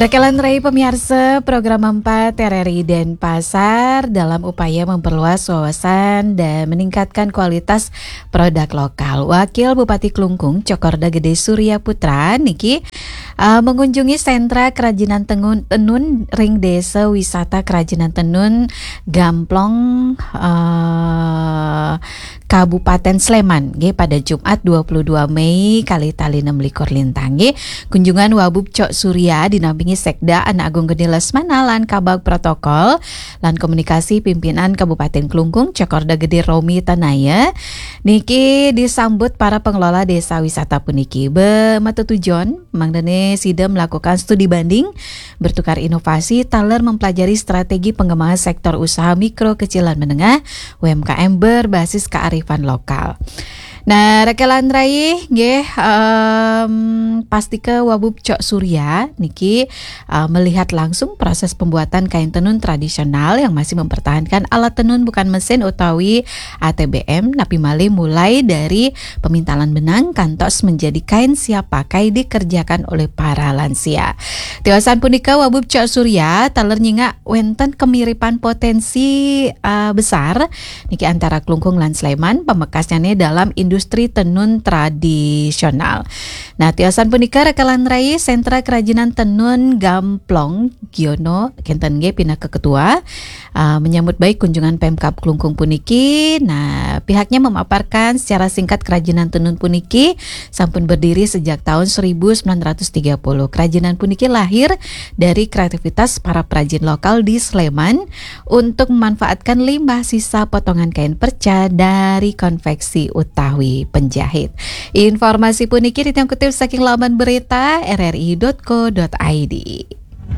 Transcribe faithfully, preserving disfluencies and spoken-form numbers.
Rekelan rai pemiarsa program empat R R I Denpasar dalam upaya memperluas wawasan dan meningkatkan kualitas produk lokal. Wakil Bupati Klungkung, Cokorda Gede Surya Putra, niki uh, mengunjungi sentra kerajinan tenun, tenun ring Desa Wisata Kerajinan Tenun Gamplong, uh, Kabupaten Sleman, nggih, pada Jumat dua puluh dua Mei, kali tali enam likur lintang, nggih. Kunjungan Wabub Cok Surya dinampingi Sekda Anak Agung Gede Lesmana lan Kabag Protokol lan Komunikasi Pimpinan Kabupaten Klungkung, Cokorda Gede Romi Tanaya. Niki disambut para pengelola desa wisata puniki. Be, matetujon, mangdane sida melakukan studi banding, bertukar inovasi, taler mempelajari strategi pengembangan sektor usaha mikro, kecil, dan menengah, U M K M berbasis kearifan lokal. Nah, rekelan rai, nggih, em, pastika Wabub Cok Surya niki, eh, melihat langsung proses pembuatan kain tenun tradisional yang masih mempertahankan alat tenun bukan mesin utawi A T B M, napi malih mulai dari pemintalan benang kantos menjadi kain siap pakai dikerjakan oleh para lansia. Tiosan punika, Wabub Cok Surya taler nyingak wenten kemiripan potensi, eh, besar niki antara Klungkung lan Sleman, pamekasnyane dalam industri tenun tradisional. Nah, tiosan punika rekelan rai Sentra Kerajinan Tenun Gamplong Giono, kenten nggih, pinaka ketua, uh, menyambut baik kunjungan Pemkab Klungkung puniki. Nah, pihaknya memaparkan secara singkat kerajinan tenun puniki sampun berdiri sejak tahun seribu sembilan ratus tiga puluh. Kerajinan puniki lahir dari kreativitas para perajin lokal di Sleman untuk memanfaatkan limbah sisa potongan kain perca dari konveksi utawi penjahit. Informasi puniki titiang kutip saking laman berita R R I dot co dot I D.